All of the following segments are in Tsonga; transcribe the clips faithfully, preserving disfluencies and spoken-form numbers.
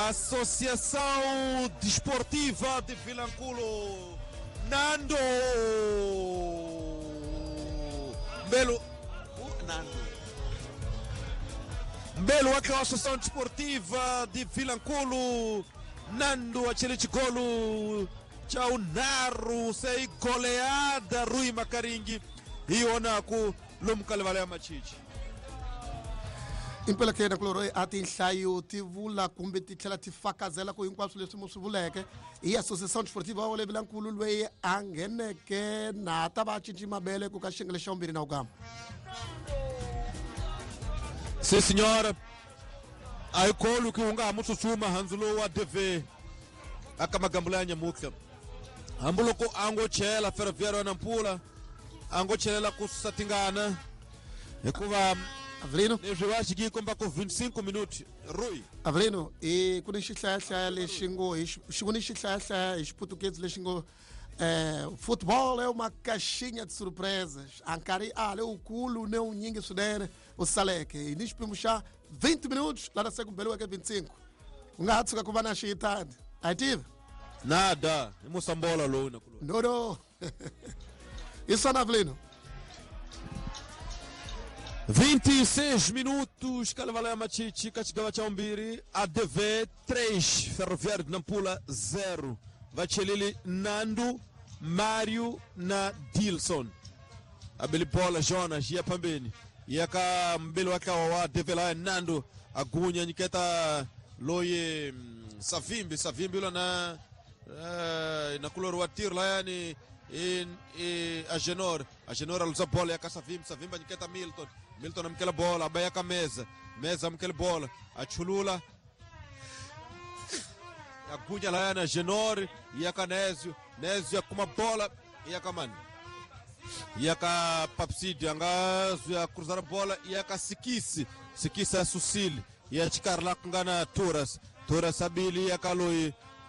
Associação Desportiva de Vilanculo. Nando Belo uh, Nando Mbelo wake wa Associação Desportiva de Vilanculo. Nando achele chigolo cha unaru sei goleada Rui Makaringi ionaku lumkalivala ya machichi. Impela ke na kuloro a tinhlayo ti vula kumbe ti tlhela ti fakazela ku hinkwaswo leswi mu swi vuleke hi Associação Desportiva wa le Vilankulu loyi a ngheneke na ta va cinci mabele ku ka xiyenge xa vumbirhi na ugama. Sim senhora, a ikolo ki unga mutsutsuma hanzulo wa D V aka magambula ya nyamuka hambuloko ango chela Ferroviário Nampula ango chelela ku satingana hikuva Avelino leswi va xi komba ku vinte e cinco minutos Rui Avelino e ku ni xihlayahlaya lexi ngo hi xi ku ni xihlayahlaya hi xiputukezi lexi ngo eh futebol é uma caixinha de surpresas a nkarhi a lowukulu ne wunyingi swinene u saleke hi ni xipimo xa vinte minutos lana se ku beliweke vinte e cinco ku nga ha tshuka ku va na xiyitani a hi tivi nada i musambola lowu na kuloni no no i swona Avelino. vinte e seis minutos, Kalevala Machichi, Kachigava Chaumbiri, A D V três, Ferroviário de Nampula zero. Vachelili Nando, Mário na Dilson. Abelibola Jonas, ia pambeni. Ia ka mbele wake wa A D V lá Nando, agunya niketa loye Savimbi, Savimbi lá na na kulor wa tir lá yani in Agenor, Agenor aluza bola ya ka Savimbi, Savimbi niketa Milton. Milton amkela bola, abaya ka meza, meza amkela bola, achulula agunya lá na Genor, ia ka Nézio, Nézio kuma bola, ia ka mani. Ia ka Papsídio, angazo ya cruzar bola, ia ka Sikisi, Sikisi a Sucile, ia chicar lá com gana Turas, Turas abili ia ka Lui,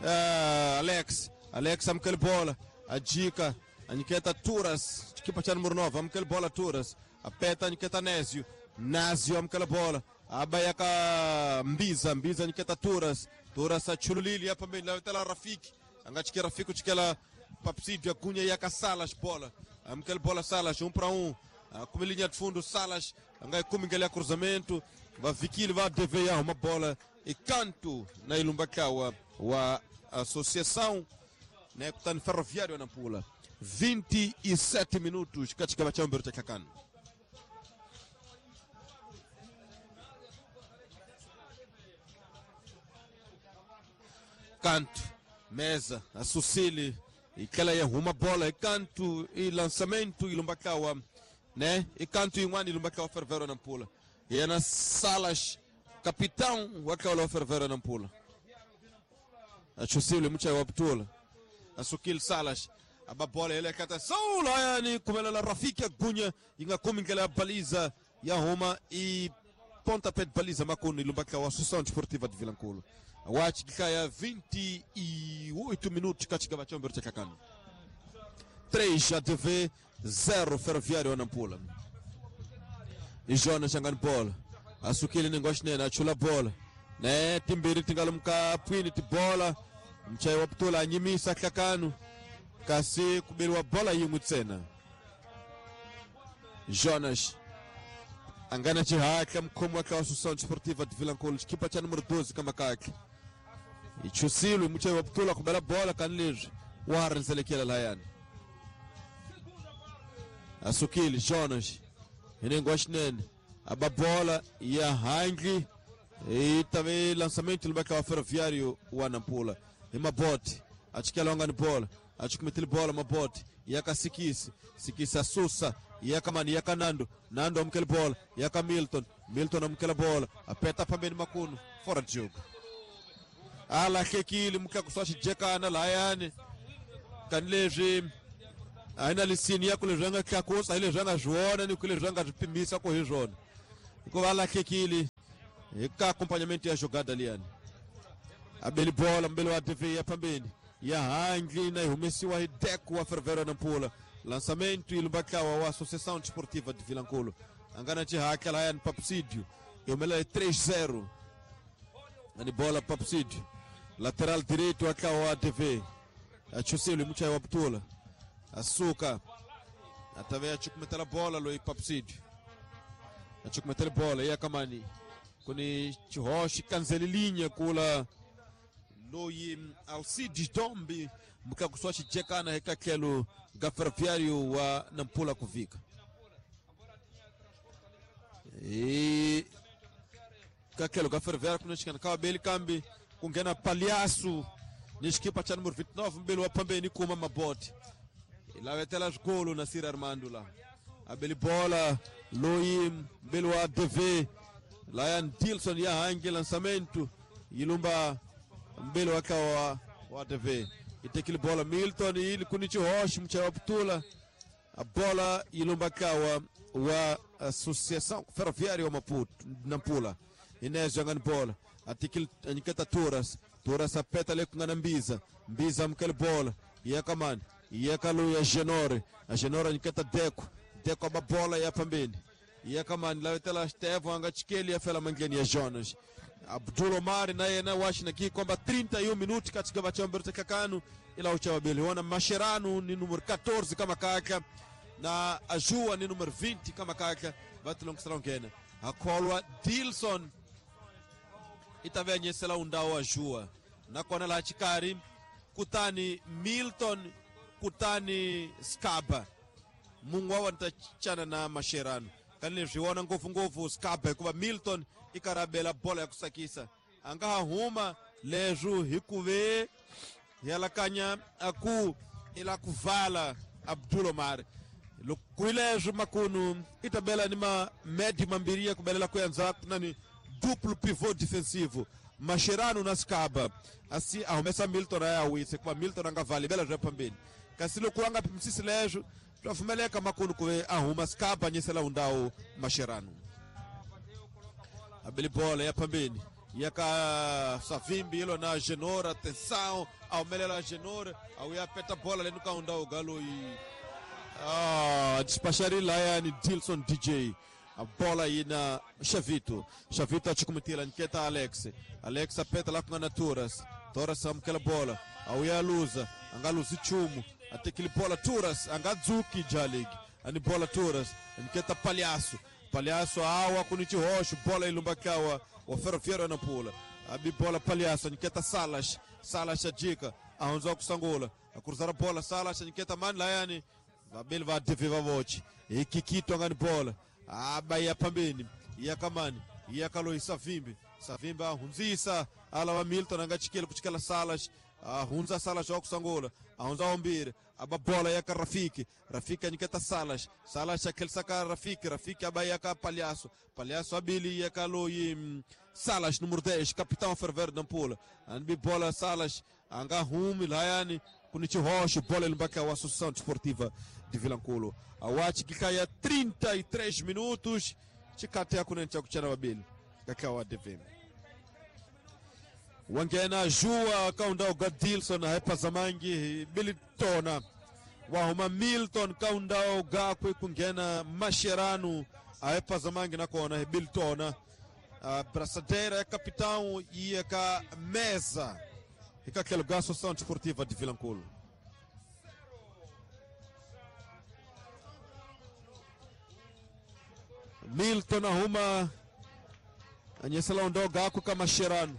uh, Alex, Alex amkela bola, a dica, a Niketa Turas, equipa cha número nove, amkela bola Turas, a peta Niketa Nézio, Názio amkela bola, a baiaka Mbiza, Mbiza Niketa Turas, Turas a Chululili ya pambeni, la tela Rafiki, angachike Rafiki chikela Papsídio, Cunha e a Salas bola, amkela bola Salas, um para um, como linha de fundo Salas, angai como ngele cruzamento, va Vikili va D V A uma bola e canto na Ilumbakawa wa Associação, né, kutani Ferroviário Nampula. vinte e sete minutos katika bachambero cha kakano. Canto, mesa, a Sucile, e que ela erra uma bola, e canto, e lançamento, e Lumbakawa, né? E canto e um ano, e Lumbakawa Ferroviário Nampula. E é nas salas, capitão, o Akawa Ferroviário Nampula. A Sucile, muita optula. A Suquil Salas, a bola, ele é cata, yani, como ela Rafiki Agunya, inga como que ela baliza, e arruma, e pontapé de baliza, Macuni, Lumbakawa, Associação Desportiva de Vilanculo. Watch kaya vinte e oito minutos katika bachambero cha kakano. três A D V zero Ferroviário Nampula. E Jonas changani bola. Asukile ningosh nena achula bola. Ne timbiri tingalumka pwini tibola. Mchai wa ptula nyimisa kakano. Kasi kubelwa bola yingutsena. Jonas angana chihaka mkhomo wa Associação Desportiva de Vilanculo, equipa cha número doze kama kake. Ichusilo mchai wa ptula kubela bola kanlizwe Warren selekela layani. Asukile Jonas inengwashinene ababola ya hangi e também lançamento do Bacau Ferroviário wa Nampula. E Mabote achikela ongani bola, achikumetile bola Mabote yaka Sikisi, Sikisi asusa yaka mani yaka Nando, Nando amkele bola yaka Milton, Milton amkele bola apeta pambeni makunu fora de jogo. Ala kekile mkakusashi jekana layani kanlezwi aina lisini ya kule ranga kakosa ile ranga jona ni kule ranga pimisa ko hizona ko ala kekile ka acompanhamento ya jogada liani abeli bola mbele wa T V ya pambeni ya hangi na ihumesiwa hideku wa Ferroviário Nampula. Lançamento Ilumbakawa wa Associação Desportiva de Vilanculo angana chihaka layani Papsídio e o melhor é três zero. Ani bola Papsídio. Lateral direito akawa T V. Achusilo mucha wa Ptula. Asuka. Atavea chukumetela bola loi Papsídio. Achukumetela bola ya kamani. Kuni chihoshi kanzelilinha kula loi Alcides Dombi mkakuswa chijekana hekakelo gaferroviário wa Nampula kuvika. E kakelo gaferroviário kunishikana kawa beli kambi kungena palhaço nishikipa cha número vinte e nove mbele wa pambeni kuma mabote. Ilavetela golo na Sir Armando lá. Abeli bola loi mbele wa D V Lion Dilson ya hangi lançamento ilumba mbele wakawa wa D V. Itekile bola Milton ili kunichi Roche mcha wa Ptula. A bola ilumba kawa wa Associação Ferroviária wa Maputo Nampula. Inés jogando bola. Atikil aniketa Turas. Turas apeta le kungana Mbiza. Mbiza mkele bola. Yeka man. Yeka lu ya Genore. A Genore aniketa Deco. Deco aba bola ya pambeni. Yeka man lawetela Stevo anga chikeli ya fela mangeni ya Jonas. Abdul Omar na yena washi na kwamba trinta e um minutos katika bachambero kakanu ila uchawabili wana Mascherano ni número quatorze kama kaka na Ajua ni número vinte kama kaka batilongisela akolwa Dilson itavenyesela undao Ajua na kona la chikari kutani Milton kutani Skaba mungu wa ntachana na Mascherano kanile zviona nguvu nguvu Skaba kuva Milton ikarabela bola ya kusakisa anga huma lezu hikuve yalakanya aku ila kuvala Abdul Omar lukuilezu makunu itabela ni ma medi mambiria kubelela kuyanza nani duplo pivô defensivo Mascherano na Skaba assim arromessa Milton aya witse kuva Milton anga vale bela já pambeni kasi lokuanga pimsisi lezu twafumeleka makunu kuve ahuma Skaba nyesela undao Mascherano. Abeli bola ya pambeni yaka Savimbi ilo na Genora, atenção aumelela Genora au ya peta bola lendo kaunda o galo e ah despachar lá ni Dilson D J a bola aí na Chavito. Chavito achukumitila nketa Alex. Alex apeta lá com a Naturas. Toras amkela bola au ya luza angaluzi chumu atekili bola Turas angadzuki jalig ani bola Turas nketa Palhaço. Palhaço awa kunichi roxo bola ilumbakawa o Ferroviário na pula abi bola Palhaço nketa Salas. Salas a dica aonzo kusangula a cruzar a bola Salas nketa man layani vabeli va deviva voce e Kikito angani bola aba ya pambeni yakamani yakaloi Savimbi. Savimbi ahunzisa ala wa Milton angachikele kuchikela Salas ahunza Salas wa kusangula ahunza ombire aba bola yaka Rafiki. Rafiki aniketa Salas. Salas akelsaka Rafiki. Rafiki aba yaka Palhaço. Palhaço abili yaka loi Salas número dez capitão Ferroviário da Nampula anbi bola Salas anga humi layani kunichi rocho bola ilumbaka wa Associação Desportiva de Vilanculo awachi kikaya trinta e três minutos chikate yakunencha kuchana babili kakawa D V M wangena Jua kaunda Gadilson hepazamangi bilitona wahuma Milton kaunda gakwe kungena Mascherano ahepazamangi nakona bilitona a braçadeira é capitão e é ka mesa e ka aquele Associação Desportiva de Vilanculo. Milton arruma anyesela undao gakwe ka Mascherano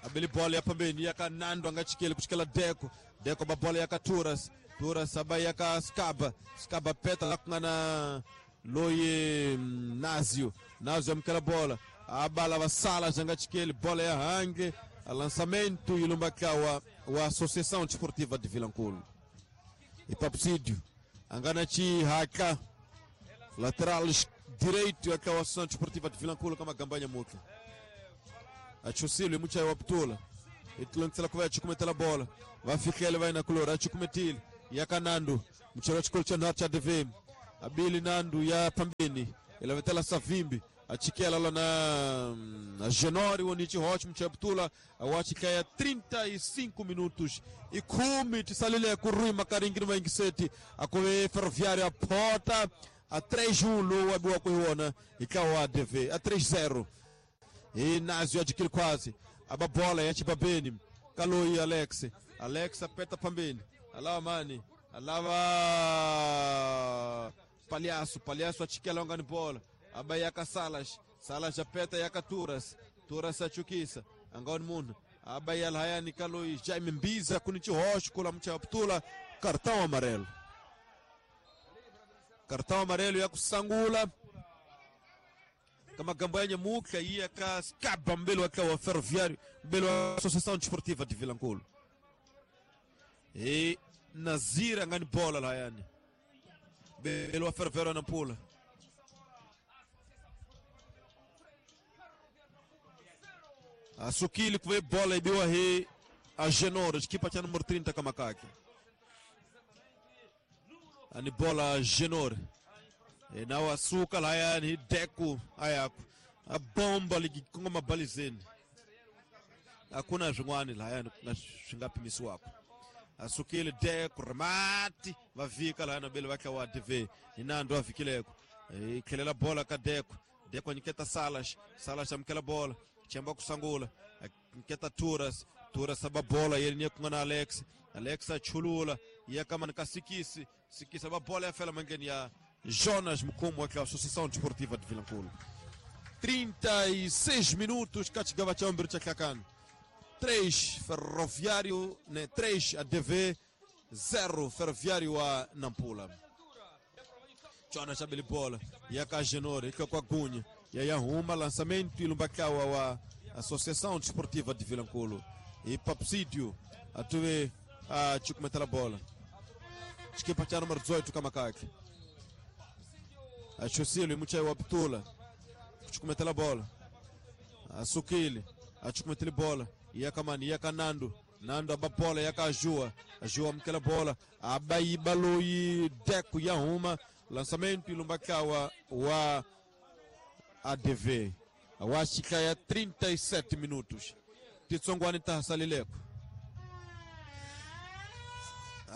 abeli bola ya pambeni yaka Nando angachikele kuchikela Deco. Deco ba bola yaka Turas. Turas aba yaka Skaba. Skaba peta la kungana loye Nazio. Nazio amkela bola abala wa Salas angachikele bola ya hange lançamento ilumbakawa wa Associação Desportiva de Vilanculo. E Papsídio angana chi haka lateral direito yaka wa Associação Desportiva de Vilanculo kama gambanya muka. Achusilo mucha wa Ptula. Itulongisela kuva achikumetela bola. Vafikele vai na kulora achikumetile. Yakanando mchero chikolo cha cha D V M. Abili Nando ya pambeni. Ilavetela Savimbi achikela lá na, na Genori Onichi Rocha mchero Ptula awachikaya trinta e cinco minutos e kumi tisalile kurui makaringi no mangiseti akove Ferroviário a porta A três um lowu abiwaka hi wona hi ntlawa wa A D V a três zero hi Nazio adquire quase a ba bola ya Chibabeni ka loyi Alex Alex apeta pambeni alava mani alava Palhaço Palhaço achikela ongani bola aba yaka Salas Salas apeta yaka Turas Turas achukisa angoni munhu aba yalhayani ka loyi Jaime Mbiza kuni chihoxo kula muchaptula cartão amarelo cartão amarelo ya kusangula kamagambo ya nyamuka iya ka skaba mbele wa wa Ferroviário mbele wa Associação Desportiva de Vilankulo e Nazira ngani bola lahayani mbele wa Ferroviário na pula asukili kuve bola ibiwa hi a Genora equipa cha número trinta kamakake ani bola Genora e na wasuka lahayani Deco ayako a bomba likikongoma balizeni hakuna swin'wana lahayani swi nga pimisiwaka asukile Deco remati va vika lahayani vabeli va tlawa A D V hi Nando a vikileko i tlhelela bola ka Deco Deco a nyiketa Salas Salas amukela bola chemba kusangula nyiketa Turas Turas aba bola yeli niye kunga na Alex Alex achulula ya kama ka Sikisi Sikisi aba bola ya fela mangeni ya Jonas Mukumo wa Associação Desportiva de Vilankulo. trinta e seis minutos kachigava cha ombiro cha Klakani. três Ferroviário, né, três A D V, zero Ferroviário a Nampula. Jonas abele bola, ya ka Genore, ika kwa Gunha, ya ya lançamento e lumbakawa wa Associação Desportiva de Vilankulo. E Papsídio atuve a chukumetela bola. Chikipa cha número dezoito kamakake. Achusile muchai wa Abdula kuchukumetela bola asukile achukumetele bola yakamani yakanando Nando aba bola yaka Ajua Ajua mkela bola abaiba loyi Deco ya uma lançamento ilumbakawa wa A D V awashika ya trinta e sete minutos titsongwani tahasalileko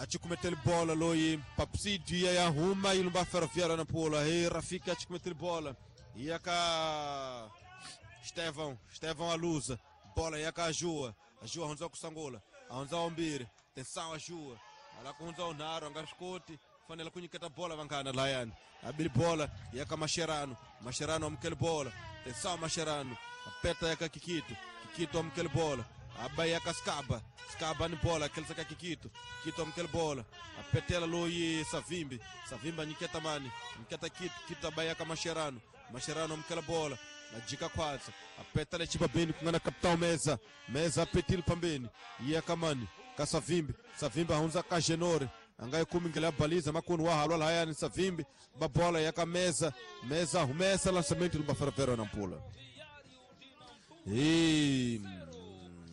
achikumetele bola loyi Papsídio ya huma ilumba Ferroviário na pula e Rafika achikumetele bola yaka Estevão Estevão alusa bola yaka Ajua Ajua hunza kusangula ahunza ombiri tensão Ajua ala kuhunza onaro angaskoti fanela kunyiketa bola vankana layani abili bola yaka Mascherano Mascherano amkele bola tensão Mascherano apeta yaka Kikito Kikito amkele bola aba yaka Skaba Skaba ni bola aquele saka Kikito Kikito amkele bola apetela loyi Savimbi Savimbi anyiketa mani nyiketa Kito Kito aba yaka Mascherano Mascherano amkele bola najika kwanza apetela chibabeni kungana capitão Meza Meza apetile pambeni yaka mani ka Savimbi Savimbi ahunza ka Genore angai kumi ngela baliza makunu wa halwa hayani Savimbi babola yaka Meza Meza humesa lançamento do Ferroviário na Nampula e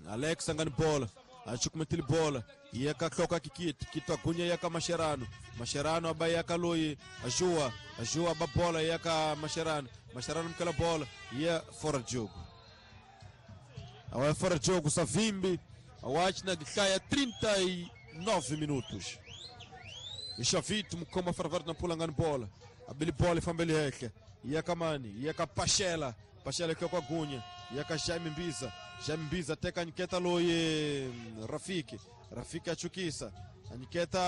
Alex angani bola achukumetile bola yaka kloka Kikito Kito agunya yaka Mascherano Mascherano aba yaka loyi Ajua Ajua babola yaka Mascherano Mascherano mkela bola ya fora de jogo awa fora de jogo Savimbi awachi na gikaya trinta e nove minutos Ixavito mukoma Ferroviário na pula ngani bola abili bola ifambeli heke yaka mani yaka Pachela Pachela kwa Gunya yaka Jaime Mbiza Jaime Mbiza teka anyiketa loye Rafiki Rafiki achukisa anyiketa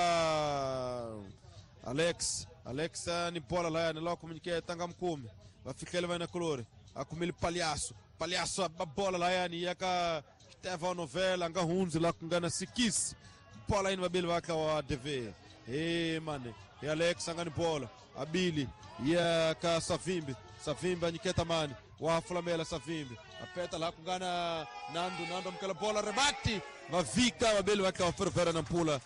Alex Alex ni bola la ni loko mnyiketa nga mkumi vafikele vana kolore akumili Palhaço Palhaço a bola la yani yaka Estevão Novela nga hunzi la kungana Sikisi bola ini babili vaka wa A D V e mane e Alex angani bola abili yaka Savimbi Savimbi anyiketa mani wa Flamela Savimbi apeta la kungana Nando Nando mkala bola remati vavika babeli vaka wa Ferroviário na Nampula